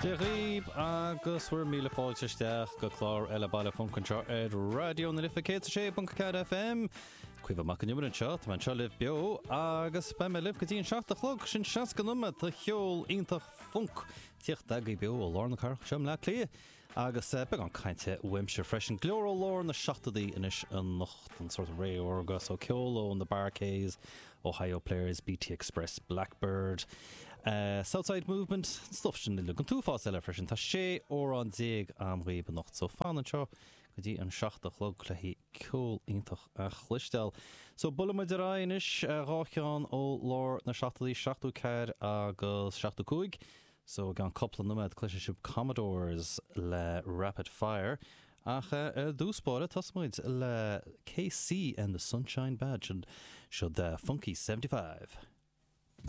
Dia dhaoib agus bhur míle fáilte isteach go clár eile Baile Func anseo ar Raidió na Life 106.4 FM. Caoimhe Mac Con Iomaire anseo, tá mé anseo libh beo agus beidh mé libh go dtí an 7 a chlog, sin 60 nóiméad de cheol iontach func tíocht agaibh beo ó lár na cathrach anseo i mBleá Cliath. Agus beagán cainte uaimse freisin. Go leor ó lár na seachtóidí anois anocht, an sórt ré órga so, ceol ó na Bar-Kays, Ohio Players, BT Express, Blackbyrd, Southside Movement, an stuff sin uilig. An t-uafás eile freisin. Tá 16 amhrán a'm dhaoib anocht so fan anseo go dtí an 7 a chlog le haghaidh ceol iontach a chloisteáil. So buailfidh muid ar aghaidh anois, dhá cheann ó lár na seachtóidí, 74 agus 75. So i gceann cúpla noiméad cloisfidh sibh Commodores le Rapid Fire ach ar dtús báire tosóidh muid le KC and the Sunshine Band, sin siod Funky 75.